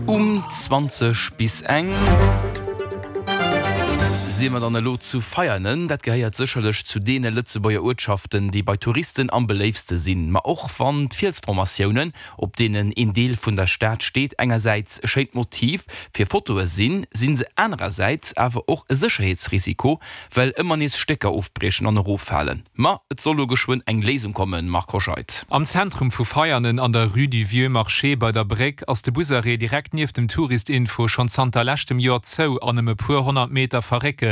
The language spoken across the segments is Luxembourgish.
Um 20 bis eng si mer dann elo zu Veianen. Dat gehéiert sécherlech zu deene Lëtzebuerger Uertschaften, déi bei Touristen am beléiftste sinn. Ma och wann d'Fielsformatiounen, op deenen een Deel vun der Stad steet, engersäits e schéint Motiv fir Fotoe sinn, si se anerersäits awer och e Sécherheetsrisiko, well ëmmer nees Stécker ofbriechen an eroffalen. Ma et soll lo geschwënn eng Léisung kommen, Marc Hoscheid. Am Zentrum vu Veianen an der Rue du Vieux Marché bei der Bréck ass de Busarrêt direkt nieft dem Touristinfo schonn zanter leschtem Joer zou an ëm e puer 100 Meter verréckelt.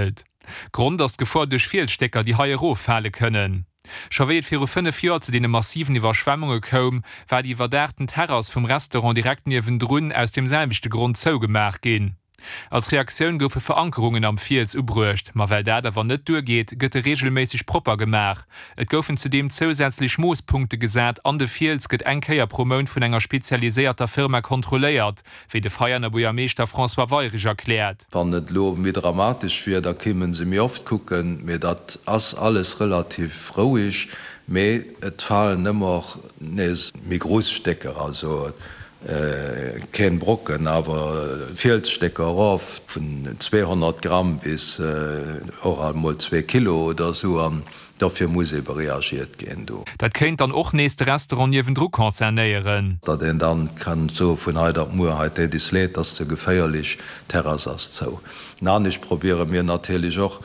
Grond ass d'Gefor duerch Fielsstécker, déi hei eroffale kënnen. Scho wéi et viru 5 Joer zu deene massiven Iwwerschwemmunge koum, war déi iwwerdaachten Terrass vum Restaurant direkt niewendrun aus deem selwechte Grond zougemaach ginn. Als Reaktioun goufe Verankerungen am Fiels ubruecht, ma well dat awer net duergeet, gëtt e reegelméisseg propper gemaach. Et goufen zudeem zousätzlech Moosspunkte gesat an de Fiels gëtt eng Kéier pro Mount vun enger spezialiséierter Firma kontrolléiert, wéi de Veianer Buergermeeschter François Weyrich erkläert. Wann et elo méi dramatesch wier, da kéimen se méi oft kucken, mee dat ass alles relativ roueg. Mee et falen ëmmer nees méi grouss Stécker, also keen Brocken, awer Fielsstécker erof vun 200 Gramm bis och alt mol zwee Kilo oder esou, an dofir muss ebe reagiert ginn do. Dat kéint dann och nees de Restaurant niewendru concernéieren. Datt een dann kann soe vun hei op muer, hei deet is leed, ass ze geféierlech, d'Terrass ass zou. Anescht probiere mir natierlech och,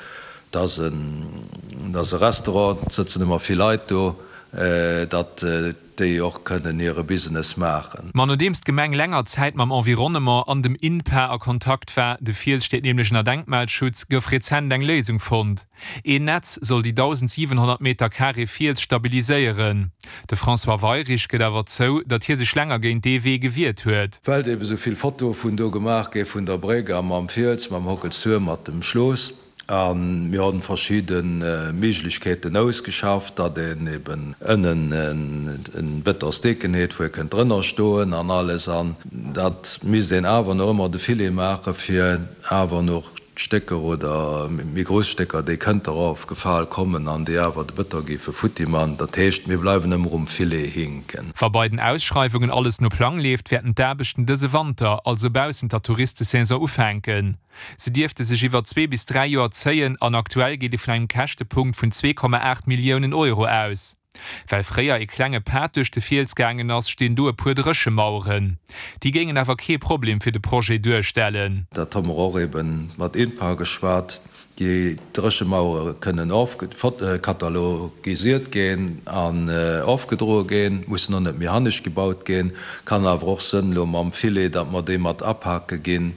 datt e Restaurant, et sëtzen ëmmer vill Leit do, datt déi och kënnen hire Business maachen. Ma nodeems d'Gemeng länger Zäit mam Environnement an dem INPA a Kontakt war, de Fiels steet nämlech ënner Denkmalschutz, gouf rezent eng Léisung fonnt. Een Netz soll déi 1.700 Meter Carré Fiels stabiliséieren. De François Weyrich gëtt awer zou, datt hie sech länger géint dee Wee gewiert huet. Well eben esou vill Fotoe vun do gemaach gi vun der Bréck a mam Fiels, mam Hockelstuerm, mat dem Schlooss. A mir hunn verschidde Méiglechkeeten ausgeschafft, datt een eben ënnen en Bëtonsdeken huet, wou ee kënnt drënner stoen an alles. An dat misst een awer nach ëmmer de Filet maachen, fir awer nach Stécker oder méi grouss Stécker, déi kënnte erofgefal kommen an déi awer de Bëton géife futti man. Dat heescht, mir bleiwen ëmmer um Filet hinken. Wa bei den Ausschreiwungen alles no Plang leeft, wäerten d'Aarbechten dëse Wanter, also baussent der Touristesaison, ufänken. Se dierfte sech iwwer zwee bis dräi Joer zéien an aktuell geet ee vun engem Käschtepunkt vun 2,8 Milliounen Euro aus. Well fréier ee klenge Pad duerch de Fiels gaangen ass, stinn do e puer Dréchemaueren. Déi géingen awer kee Problem fir de Projet duerstellen. Dat hu mer och eben mat INPA geschwat. Déi Dréchemauere kënnen katalogisiert ginn an ofgedroe ginn, mussen och net méi hannescht gebaut ginn. Kann awer och sënn elo mam Filet, datt mer déi mat apake ginn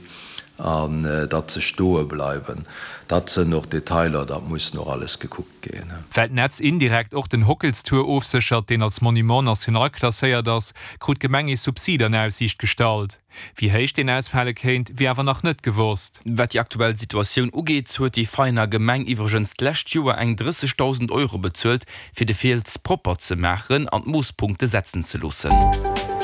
an datt se stoe bleiwen. Dat sënn och Detailer, dat muss nach alles gekuckt ginn. Well d'Netz indirekt och den Hockelstour ofséchert, deen als Monument national klasséiert ass, krut d'Gemeng ee Subsid an Aussiicht gestallt. Wéi héich deen ausfale kéint, wier awer nach net gewosst. Wat déi aktuell Situatioun ugeet, huet déi Veiener Gemeng iwwregens d'lescht Joer eng 30.000 Euro bezuelt, fir de Fiels propper ze maachen an d'Moosspunkte setzen ze loossen.